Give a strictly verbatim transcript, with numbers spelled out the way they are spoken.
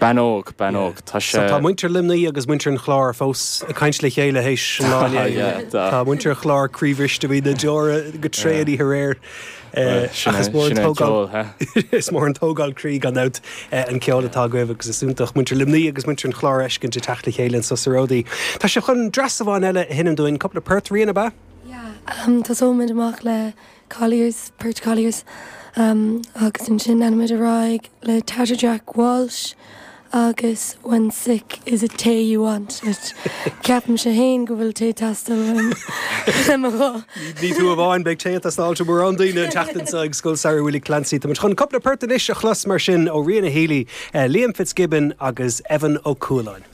Bean óg bean óg tá sé Tá muintir Luimnigh agus muintir an Chláir fós ag caint le chéile théis an lá Tá muintir an Chláir croíbhriste bhí na deora go tréan aréir. Is mór is mór an tógáil croí gan dabht an ceol atá agaibh agus is iontach muintir Luimnigh agus muintir an Chláir a fheiscint ag teacht le chéile anseo sa Ródaí. Tá sibh chun dreas amháin eile a sheinm dúinn cúpla port Ríona ab ea? Um, Tosóimid amach le Colliers, Port Colliers um, agus ansin leanfaimid ar aghaidh le Tatter Jack Walsh agus when sick is it tae you want it. Ceapaimse féin go bhfuil tae ag teastáil le mo ghuth. Ní tú amháin beidh tae ag teastáil ó mórán daoine an tseachtain seo ag Scoil Samhraidh Willie Clancy. Tá chun cúpla port anois a chlos mar sin ó Ríona Healy, uh, Liam Fitzgibbon agus Evan Ó Cualáin.